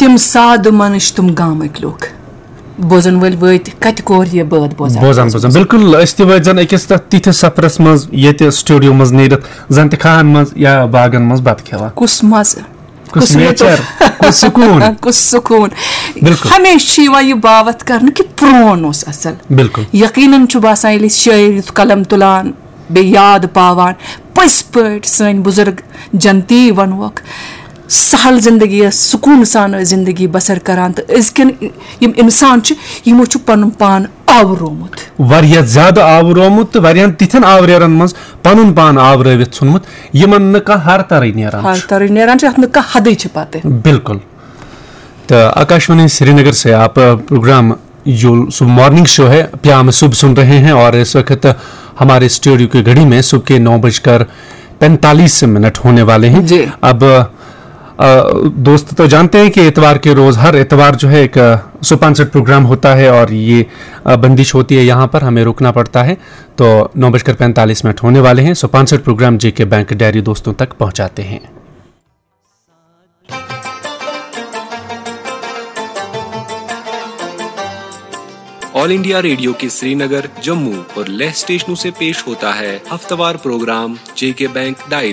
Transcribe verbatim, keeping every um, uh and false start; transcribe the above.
تِم سادٕ منٕچھ تِم گامٕکۍ لُکھ، بوزن وٲلۍ وٲتۍ کتہِ کور یہِ بٲتھ بوزان؟ بوزان بوزان، بِلکُل، أسۍ تہِ وٲتۍ زن أکِس تتھ تِتھِس سفرس منٛز، ییٚتہِ سٹوڈیو منٛز نیٖرِتھ زن تہِ کھاہن منٛز یا باغن منٛز بتہٕ کھٮ۪وان۔ کُس مزٕ، کُس کُس لطف۔ Nature، کُس سکوٗن۔ کُس سکوٗن۔ بِلکُل۔ ہمیشہِ چھُ یِوان یہِ باوتھ کرنہٕ کہِ پرون اوس اصل۔ بِلکُل۔ یقیناً چھُ باسان، ییٚلہِ أسۍ شٲعر یُتھ قلم تُلان، بیٚیہِ یاد پاوان، پٔزۍ پٲٹھۍ سٲنۍ بُزرگ جنتی ونوکھ، سہل زندگی ٲس، سکوٗن سان ٲسۍ زندگی بسر کران، تہٕ أزکٮ۪ن یِم انسان چھِ، یِمو چھُ پنُن پان آورومُت۔ واریاہ زیادٕ آورومُت تہٕ واریاہن تِتھٮ۪ن آوریرن منٛز پنُن پان آورٲوِتھ ژھُنمُت، یِمن نہٕ کانٛہہ ہر ترٕے نیران ہر چھُ۔ ترٕے نیران چھُ، اتھ نہٕ کانٛہہ حدٕے چھِ پتہٕ۔ بِلکُل۔ تو आकाशवाणी श्रीनगर से आप प्रोग्राम जो सुबह मॉर्निंग शो है प्याम शुभ सुन रहे हैं और इस वक्त हमारे स्टूडियो की घड़ी में सुबह के नौ बजकर पैंतालीस मिनट होने वाले हैं। जी। अब अ, दोस्त तो जानते हैं कि इतवार के रोज, हर इतवार जो है एक स्पॉन्सर्ड प्रोग्राम होता है और ये अ, बंदिश होती है, यहाँ पर हमें रुकना पड़ता है। तो नौ बजकर पैंतालीस मिनट होने वाले हैं। स्पॉन्सर्ड प्रोग्राम जेके बैंक डायरी दोस्तों तक पहुंचाते हैं। ऑल इंडिया रेडियो के श्रीनगर, जम्मू और लेह स्टेशनों से पेश होता है हफ्तावार प्रोग्राम जेके बैंक डायरी।